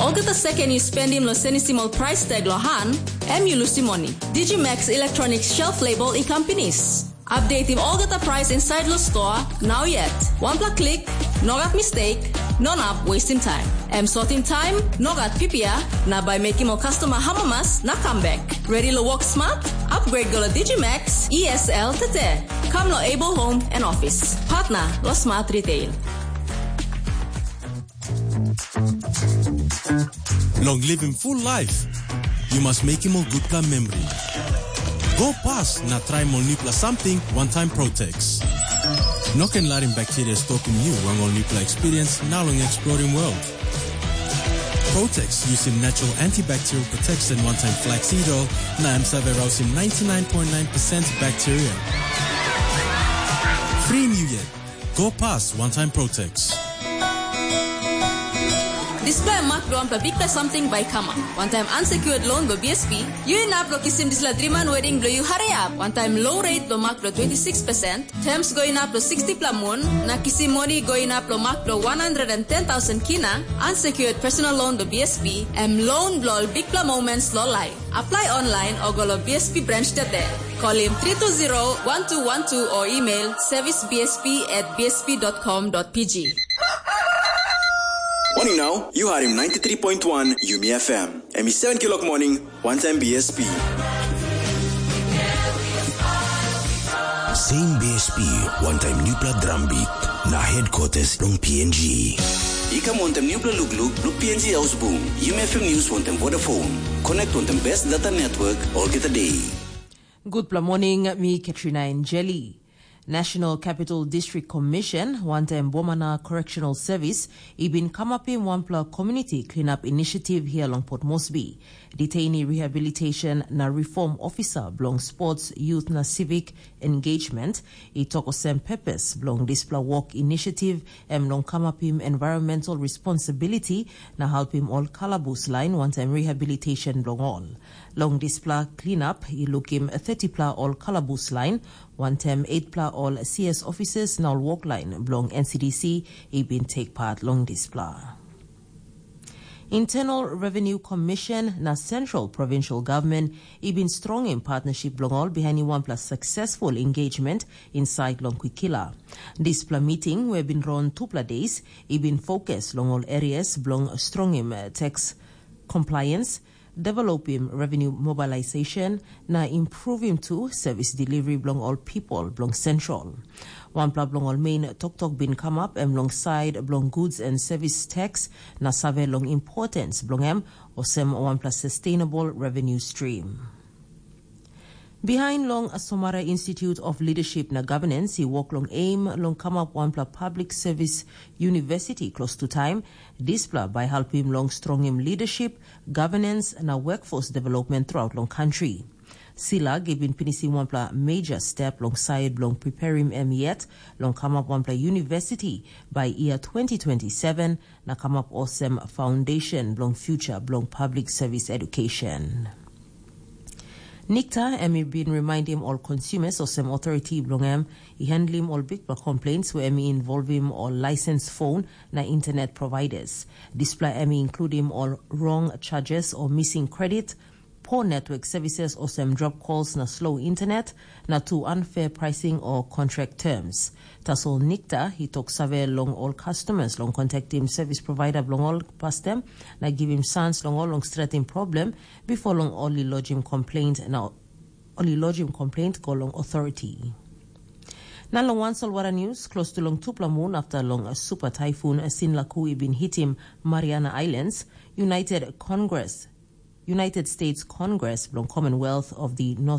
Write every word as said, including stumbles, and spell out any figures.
Olgeta seken yu spendim lo senisim ol price tag lo han, em yu lusim moni. Digimax Electronics shelf label i kam pinis. Updatim olgeta price inside lo store, now yet. Wanpela klik, no gat mistake, no nap wasting time. Em sorting time, no gat pipia, na by making ol customer hamamas na come back. Ready lo work smart? Upgrade go lo Digimax E S L tete. Come lo Able Home and Office. Partner lo Smart Retail. Long living full life, you must make him a good plan memory. Go past na try ol nupla something one time Protex. No can larim bacteria stopim you long ol nupla experience na long exploring world. Protex using natural antibacterial protection one time flaxseed oil na em save rausim ninety-nine point nine percent bacteria. Free you yet. Go past one time Protex. Dispela em mak bilong wanpela bikpela samting bai i kamap. Wantaim unsecured loan bilong B S P, yu inap long kisim dispela driman wedding bilong yu hariap. Wantaim low rate bilong mak bilong twenty six percent, terms go inap long sixty pela mun, na kisim moni go inap long mak bilong one hundred and ten thousand kina, unsecured personal loan bilong B S P, em loan bilong ol bikpela moments long life. Apply online o go long B S P branch today. Call him three two zero one two one two or email service B S P at B S P dot com dot P G. Morning now, you are in ninety-three point one Yumi F M. And it's seven o'clock morning, one time B S P. Same B S P, one time Newpla Drum Beat, na headquarters long P N G. I kam wantaim nupela lukluk bilong P N G Ausbung, Yumi F M News wantaim Vodafone. Connect wantaim best data network olgeta day. Gutpela morning, mi Katrina Enjeli. National Capital District Commission, wantaim Bomana Correctional Service, i bin kamapim wanpela community cleanup initiative here long Port Moresby. Detainee Rehabilitation na Reform Officer bilong Sports, Youth na Civic Engagement, i tok olsem purpose bilong dispela work initiative em long kamapim environmental responsibility na helpim ol kalabus lain wantaim rehabilitation bilong ol. Long dispela cleanup i lukim thirty pla ol kalabus lain, wantaim eight pla ol C S officers na ol work lain bilong N C D C i bin take part long dispela. Internal Revenue Commission na Central Provincial Government i bin strongim partnership bilong ol behind wanpela successful engagement inside long Kwikila. Dispela meeting we bin run tupela days i bin focus long ol areas bilong strongim, eh, tax compliance, developim revenue mobilization, na improvim tu service delivery bilong ol people bilong Central. Wanpela bilong ol main toktok bin kamap em long side bilong goods and service tax na save long importance bilong em olsem wanpela sustainable revenue stream. Behind long Somara Institute of Leadership na Governance i work long aim long kamap wanpela public service university close to time. Dispela by helpim long strongim leadership, governance na workforce development throughout long country. Sila giving pinisim wanpela major step long side bilong preparing em yet long kamap wanpela university by year twenty twenty-seven na kamap olsem foundation bilong future bilong public service education. Nikta em i bin reminding ol consumers olsem authority bilong em i handlim ol bikpela complaints where em i involvim ol license phone na internet providers. Dispela em i includim ol wrong charges o missing credit, poor network services olsem drop calls na slow internet, na tu unfair pricing o contract terms. Tasol Nikta i tok save long ol customers long contactim service provider bilong ol pastem na givim sans long ol long stretim problem bipo long ol i lojim complaint na ol i lojim complaint go long authority. Na long wan solwara news, close to long tupela mun after long a super typhoon a Sinlaku i bin hitim Mariana Islands, United Congress, United States Congress bilong Commonwealth of the North